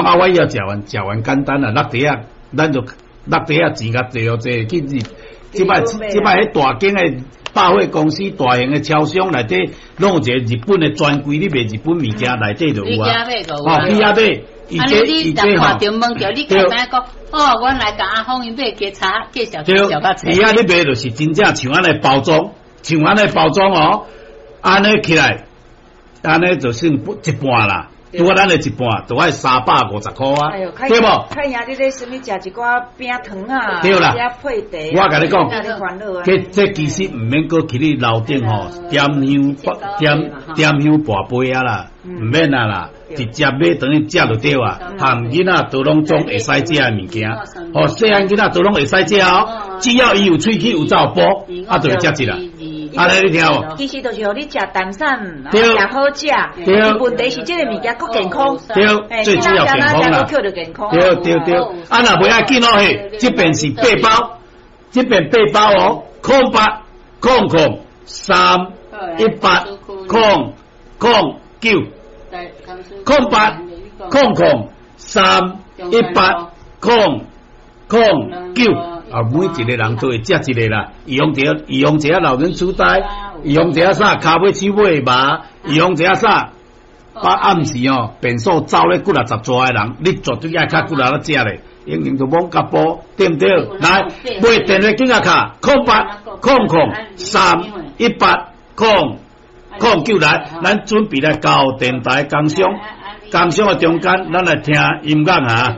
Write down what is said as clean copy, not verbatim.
啊，我以後食完食完簡單啦，落地啊，咱就落地啊錢較濟哦濟去日。這擺這擺彼大間的百貨公司、大型的超商內底，攏有一個日本的專櫃，你賣日本物件內底就有啊。哦，去遐買。按呢你若看著問著，你簡單講，哦，阮來共阿峰𪜶買加查介紹介紹較濟。伊遐你買就是真正像按呢包裝，像按呢包裝哦，按呢起來，按呢就算一半啦。拄啊，咱的一半都愛350塊啊，對無？看贏你咧啥物食一寡餅糖啊，對啦，配茶。我共你講，這其實毋免閣去你樓頂吼點香點點香跋杯啊啦，毋免啊啦，直接買轉去食就對啊。含囡仔都攏總會使食的物件，哦，細漢囡仔都攏會使食哦，只要伊有喙齒有走步，啊，就會食一啦。按呢你聽無？其實就是予你食淡散，食好食。對。問題是這个物件閣健康。對，最主要健康啦。對對對，啊若袂要緊哦嘿，這邊是八包，這邊八包哦，0800031800 9，0800031800 9。啊，每一個人都會食一個啦，預防著預防一下老人痴呆，預防一下啥跤尾手尾麻，預防一下啥，把暗時哦便所走咧幾若十逝的人，你絕對愛較骨力咧食咧，已經就罔甲步，對毋對？來，買電話緊仔敲，0800031800 9來，咱準備來到電台工商，工商的中間，咱來聽音樂啊。